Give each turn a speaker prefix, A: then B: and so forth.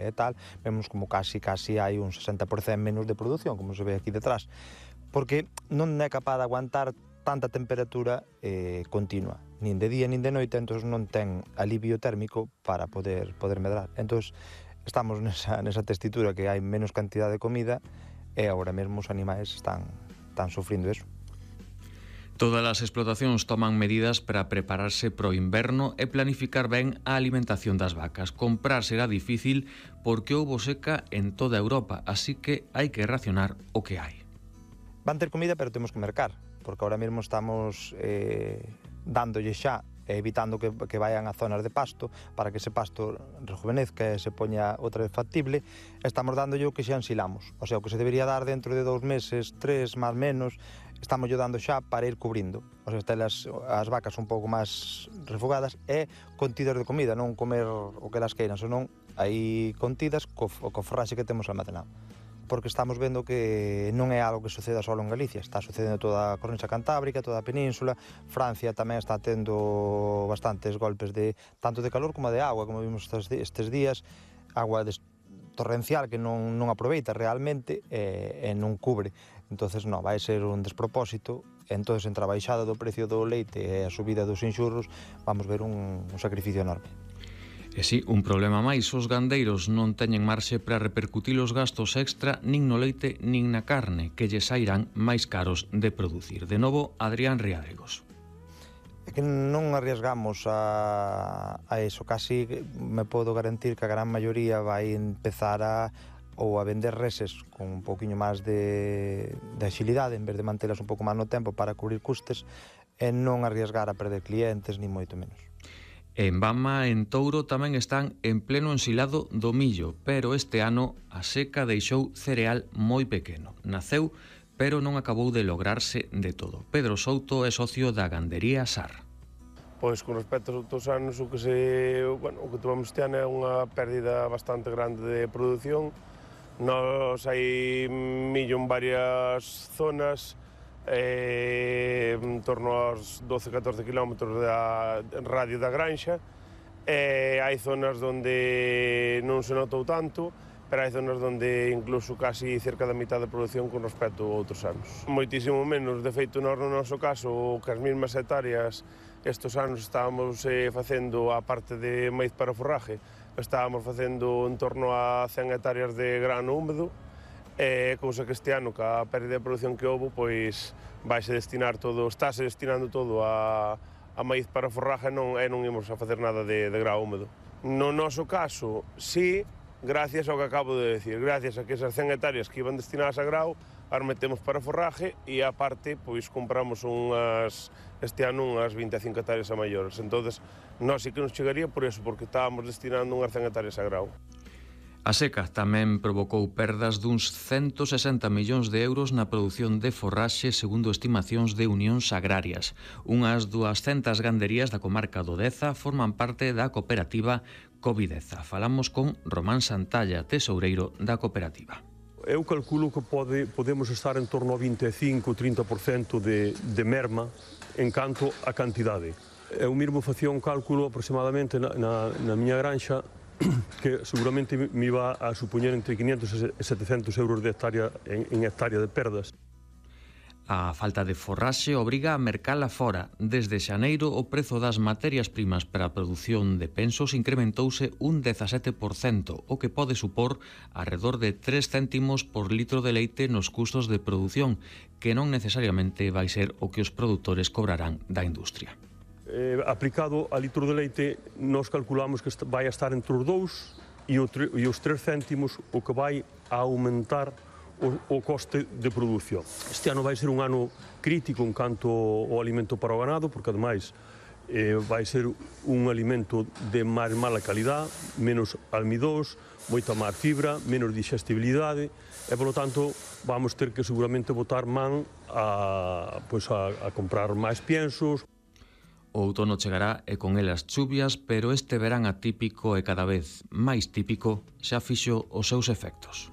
A: e tal, vemos como casi hai un 60% menos de produción, como se ve aquí detrás, porque non é capaz de aguantar tanta temperatura continua, nin de día nin de noite, entón non ten alivio térmico para poder medrar. Entón estamos nesa tesitura que hai menos cantidad de comida e agora mesmo os animais están sufrindo eso.
B: Todas as explotacións toman medidas para prepararse para o inverno e planificar ben a alimentación das vacas. Comprar será difícil porque houbo seca en toda Europa, así que hai que racionar o que hai.
A: Van ter comida, pero temos que mercar, porque ahora mesmo estamos dándolle xa, evitando que vayan a zonas de pasto, para que ese pasto rejuvenezca e se poña outra vez factible. Estamos dándolle o que xa ensilamos, o sea, o que se debería dar dentro de 2 meses, 3, máis menos, estamos dando xa para ir cubrindo. O sea, telas as vacas un pouco máis refogadas e contidas de comida, non comer o que elas queiran, senón aí contidas co forraxe que temos almacenado. Porque estamos vendo que non é algo que suceda só en Galicia, está sucedendo toda a cornisa cantábrica, toda a península. Francia tamén está tendo bastantes golpes tanto de calor como de agua, como vimos estes días, agua torrencial que non aproveita realmente e non cubre. Entonces, vai ser un despropósito. Entonces, entre a baixada do precio do leite e a subida dos inxurros, vamos ver un sacrificio enorme.
B: E si, un problema máis, os gandeiros non teñen marxe para repercutir os gastos extra nin no leite nin na carne, que lles sairán máis caros de producir. De novo, Adrián Riadregos.
A: É que non arriesgamos a eso, casi me podo garantir que a gran maioría vai empezar a vender reses con un pouquiño máis de axilidade, en vez de mantelas un pouco máis no tempo para cubrir custes, e non arriesgar a perder clientes, ni moito menos.
B: En Bama, en Touro, tamén están en pleno ensilado do millo, pero este ano a seca deixou cereal moi pequeno. Naceu, pero non acabou de lograrse de todo. Pedro Souto é socio da gandería SAR.
C: Pois con respecto aos outros anos, o que tomamos este ano é unha pérdida bastante grande de produción. Nos hai millo en varias zonas, en torno aos 12-14 km da radio da granxa. Hai zonas onde non se notou tanto, pero hai zonas onde incluso casi cerca da mitad de produción con respecto a outros anos. Moitísimo menos, de feito, no noso caso, que as mesmas hectáreas estes anos estábamos facendo a parte de maíz para forraje, estábamos facendo en torno a 100 hectáreas de grano húmedo, cousa que este ano, ca pérdida de produción que houve, pois estáse destinando todo a maíz para forraje e non imos a facer nada de grao húmedo. No noso caso, sí, gracias ao que acabo de decir, gracias a que esas 100 hectáreas que iban destinadas a grao, as metemos para forraje e, aparte, pois compramos este ano unhas 25 hectáreas a maiores. Entonces, nós sí que nos chegaría por eso, porque estábamos destinando unhas 100 hectáreas a grao.
B: A seca tamén provocou perdas duns 160 millóns de euros na produción de forraxe, segundo estimacións de Unións Agrarias. Unhas 200 ganderías da comarca do Deza forman parte da cooperativa Covideza. Falamos con Román Santalla, tesoureiro da cooperativa.
D: Eu calculo que podemos estar en torno a 25-30% de merma en canto a cantidade. Eu mesmo facía un cálculo aproximadamente na miña granxa que seguramente me iba a supoñer entre 500 e 700 euros de hectárea en hectárea de perdas.
B: A falta de forraxe obriga a mercala fora. Desde xaneiro, o prezo das materias primas para a produción de pensos incrementouse un 17%, o que pode supor arredor de 3 céntimos por litro de leite nos custos de produción, que non necesariamente vai ser o que os produtores cobrarán da industria.
D: Aplicado a litro de leite, nós calculamos que vai a estar entre os 2 e os 3 céntimos, o que vai a aumentar o coste de produción. Este ano vai ser un ano crítico en canto ao alimento para o ganado, porque ademais vai ser un alimento de máis mala calidad, menos almidós, moita máis fibra, menos digestibilidade, e, polo tanto, vamos ter que seguramente botar man a comprar máis piensos.
B: O outono chegará e con elas chuvias, pero este verán atípico e cada vez máis típico xa fixo os seus efectos.